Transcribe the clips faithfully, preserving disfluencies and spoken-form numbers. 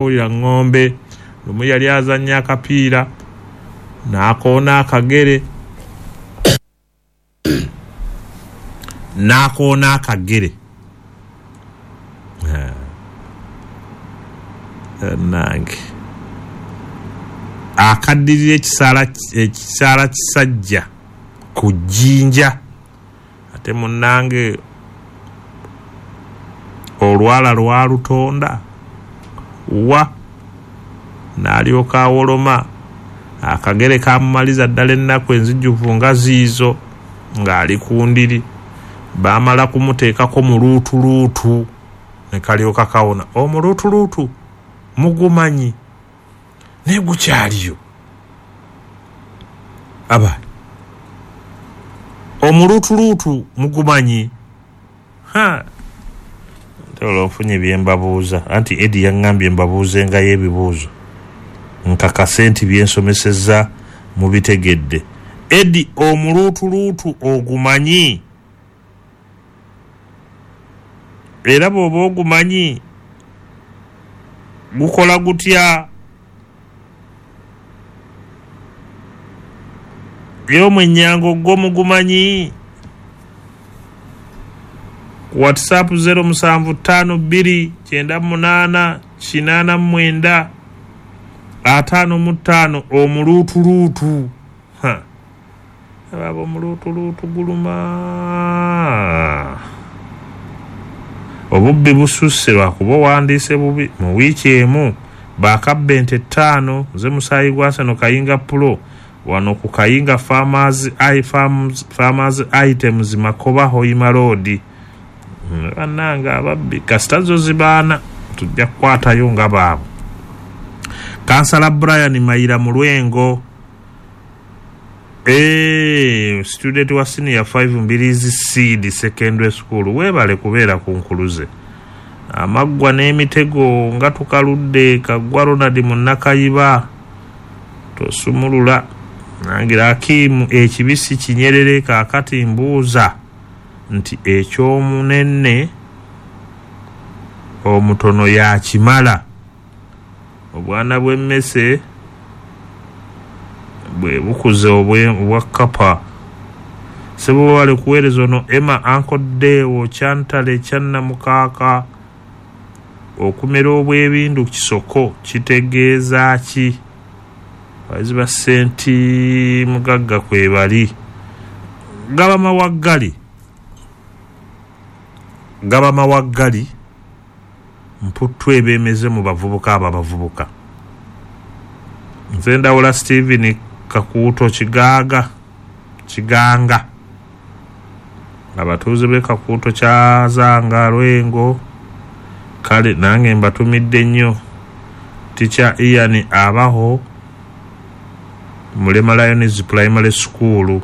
Wulira ŋŋombe. Lumu yali azannya akapiira n'akoona akagere, n'akoona akagere nange akaddirira ekisaala ekisaala kisajja ku jjinja. Ate munnange olwala lwalutonda wa n'alyoka awoloma. Akagere kamumaliza ddala ennaku enzijuvu nga ziizo ng'ali ku ndiri. Baamala kumuteekako muluutuluutu ne kalyoka kawona. Omuluutuluutu mugumanyi naye gukyaliyo. Aba omuluutuluutu mugumanyi. Ha, ntola ofunye bye mbabuuza. Anti Edi yaŋŋambye mbabuuzengayo ebibuuzo nkakase nti byensomesezza mubitegedde. Edi, omuluutuluutu ogumanyi? Era bw'oba ogumanyi gukola gutya? Ye omwennyango gwo mugumanyi? WhatsApp zero musanvu ttaano bbiri kyenda munaana kinaana mwenda ataano mu ttaano. Omuluutuluutu. Ha, ababa omuluutuluutu guluma. Obubbi bususse lwakuba owandiise bubi. Mu wiiki emu baakabba ente ttaano. Nze musaayi gwa Sano Kayinga Pulo wano ku Kayinga Farmers, I Farms, Farmers Items Makoba Hoima Road. Bannange ababbi kasita zo zibaana tujja kukwatayo nga baabo. Kansala Brian Mayira Mulwengo, eh, student wa senior five Mbirizi Seed Secondary School, weebale kubeera ku nkuluze. Amaggwa n'emitego nga tukaludde. Kaggwa Ronald Munnakayiba tosumulula. Nangira Akimu ekibisi kinyerere. Kaakati mbuuza nti ekyomunene omutono yakimala? Obwana bw'emmese bwe bukuze obwa kapa. Sebo wale kuweereza ono Emma Ankoddeewo Kyantale Kyannamukaaka. Okumera obw'ebindu kisoko kitegeeza ki? Abayizi ba Ssenti Mugagga kwe bali. Gaba mawaggali, gaba mawaggali mputtu ebeemeze mu bavubuka abo abavubuka. Nze Ndawula Steven Kakuuto Kigaaga Kiganga. Abatuuze b'e Kakuuto Kyazanga Lwengo, kale nange mbatumidde nnyo. Teacher Ian Abaho Mulema Lions Primary School.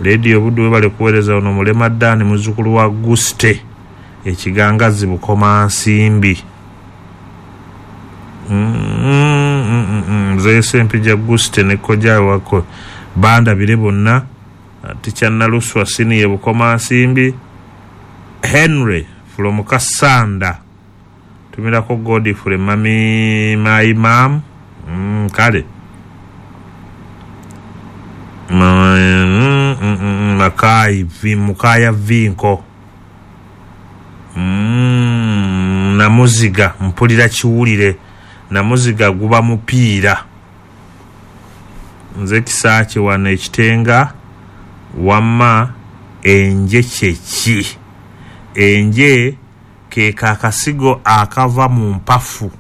Lady Obuddu webale kuweereza. Ono Mulema Dan muzzukulu wa Guste Ekigangazi Bukomansimbi. Nze Sempijja Guste ne kojja wako bandabire bonna. Teacher Naluswa Senior Bukomansimbi. Henry from Kasanda tumirako Godfrey mami my mom. Mm, kale Mm, mm, mm, Makai vi Mukaya Vinko. Mm, namuziga mpulira kiwulire. Namuziga guba mupiira. Nze Kisaakye wano ekitenga. Wamma enje kyeki? Enje ke kakasigo akava mu mpafu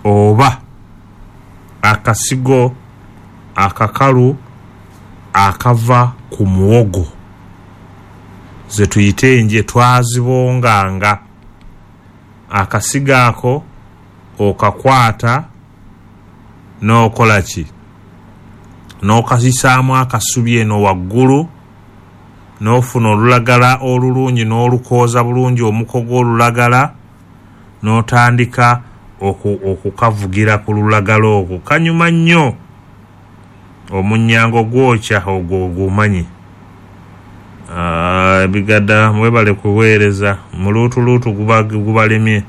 oba akasigo akakalu akava ku muwogo ze tuyite enje twazibonganga. Akasigo ako okakwata n'okola ki? N'okazisaamu akasubi eno waggulu n'ofuna olulagala olulungi n'olukooza bulungi omuko gw'olulagala n'otandika okukavugira ku lulagala okwo. Kanyuma nnyo. Omunyango gwokya ogwo ogumanyi. Ebigada mwebale kuweereza. Muluutuluutu gubalemye.